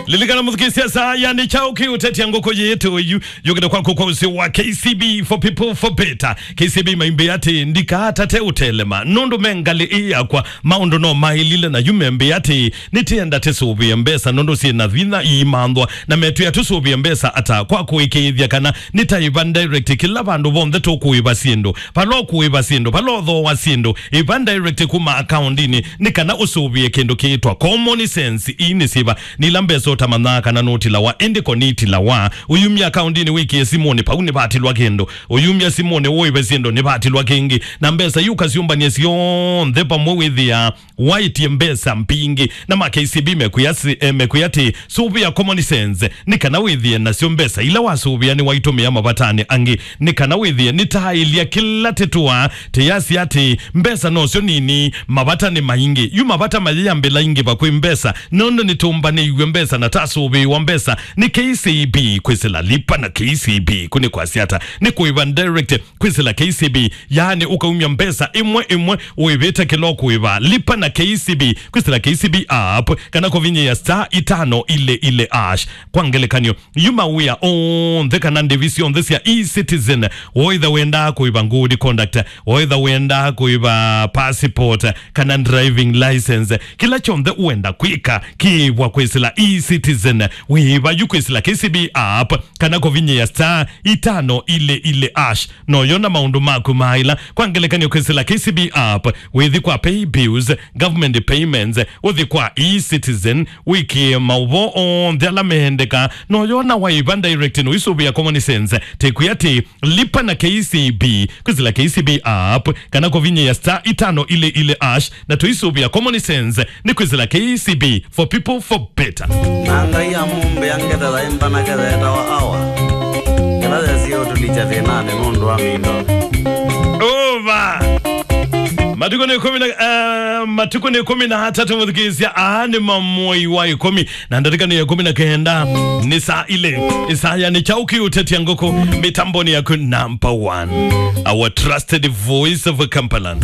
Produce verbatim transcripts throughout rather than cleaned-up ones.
Lilikana mũthukĩĩsya saa, yani kyaũ kĩũtetya ngũkũ yĩtũ yu yũkĩte kwaku kwa ũsĩ wa K C B for people for better. K C B maimbĩ atĩ ndikaatate ũtelema nũndũ me ngalĩ ĩ yakwa. Maũndũ no maĩlile na yu membĩ atĩ nĩtĩenda tĩsũvĩe mbesa nũndũ syĩ na vinya iimanthwa, na metwĩa tũsũvĩe mbesa ata kwa kũĩkĩĩthya kana nĩtaĩva direct kĩla vandũ vonthe tũkũĩva syĩndũ. Vala ũkũĩva syĩndũ, vala ũthooa syĩndũ, ĩva direct kuma akaundinĩ, nĩ kana ũsũvĩe kĩndũ kĩĩtwa common sense. Ii nĩ syĩva? Nĩ ila mbesa ũtamanyaa kana nũtilawa, ĩndĩ ko nĩitilawa. Ũyumya akaundinĩ wĩkĩe simũnĩ, vau nĩvatilwa kĩndũ. Ũyumya simũnĩ ũĩve syĩndũ, nĩvatilwa kĩngĩ. Na mbesa iu ũkasyũmbany'a syonthe vamwe wĩthĩaa waĩtye mbesa mbingĩ. Na ma K C B mekwĩa si-, eh, mekwĩa atĩ, sũvĩa common sense, nĩ kana wĩthĩe nasyo mbesa ila wasũvĩa nĩwaitũmĩa mavatanĩ angĩ, nĩ kana wĩthĩe nĩtaĩlya kĩla tĩtũaa tĩyasya atĩ mbesa nosyo nini, mavata nĩ maingĩ. Yu mavata mayĩambĩla ingĩ vakwĩ mbesa, nũndũ nĩtũmbanĩiw'e mbesa na tasũvĩĩwa mbesa nĩ K C B. Kwĩsĩla Lipa na K C B kũ nĩ kwasya ata? Nĩ kũĩva direct kwĩsĩla K C B, yaani ũkaumya mbesa ĩmwe ĩmwe ũĩvĩte kĩla ũkũĩva. Lipa na K C B kwĩsĩla K C B app kana kũvinyĩa star itano ile ile hash. Kwa ngelekany'o, yu mawĩa onthe kana ndĩvi syonthe sya eCitizen, woĩtha wendaa kũĩva good conduct, woĩtha wendaa kũĩva passport kana driving license, kĩla kyonthe ũenda kwĩka kĩĩvwa kwĩsĩla eCitizen. Wĩĩva yu kwĩsĩla K C B app kana kũvinyĩa star itano ile ile hash. Noyona maũndũ maku maĩla. Kwa ngelekany'o, kwĩsĩla K C B app, wĩthi kwa pay bills, government payments, ũthi kwa eCitizen, wĩkĩe maũvoo onthe ala meendeka. Noyona waĩva direct, noisũvĩa common sense. Tĩkwĩa atĩ, Lipa na K C B kwĩsĩla K C B app kana kũvinyĩa star itano ile ile hash, na tũisũvĩa common sense nĩ kwĩsĩla K C B for people for better. Na Ngai amũmbĩa ngetha yaĩ mbanake yeetawa Awa, ĩla yesie ũtũlikya thĩnanĩ nũndũ wa mĩndo. Over. Matukũ nĩ ĩkũmi na, eh, matukũ nĩ ĩkũmi na atatũ mũthukĩĩsya, aa nĩ mamoi wa ĩkũmi. Na ndatĩka nĩ ya ĩkũmi na kenda, nĩ saa ile. Isaya nĩ kyaũ kĩũtetya ngũkũ mĩtamboni yaku number one. Our trusted voice of Kampala.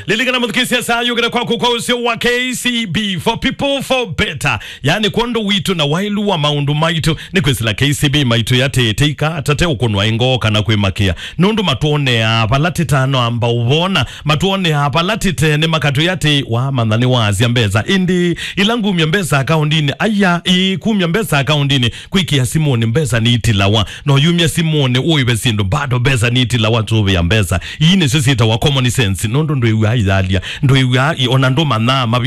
Lilikana mũthukĩĩsya saa yũkĩte kwaku kwa ũsĩ wa K C B for people for better. Yaani kwondũ witũ na waĩlu wa maũndũ maitũ nĩ kwĩsĩla K C B maitũ yatĩĩte ika atate ũkũnwa ĩngoo kana kwĩmakĩa. Nũndũ matwoneaa vala tĩtanoamba ũvona, matwoneaa vala tĩtene makatwĩa atĩ, wamantha nĩwaasya mbesa. Ĩndĩ ĩla ngumya mbesa akaundinĩ, aya, ĩĩ, kumya mbesa akaundinĩ, kwĩkĩa simũnĩ mbesa nĩitilawa. No yumya simũnĩ ũĩve syĩndũ, bado mbesa nĩitilawa, tũvĩa mbesa. Ii nĩsyo syĩtawa common sense, nũndũ ndwĩw'aa iyalya, ndwĩw'aa i-, ona ndũmanyaa mavi-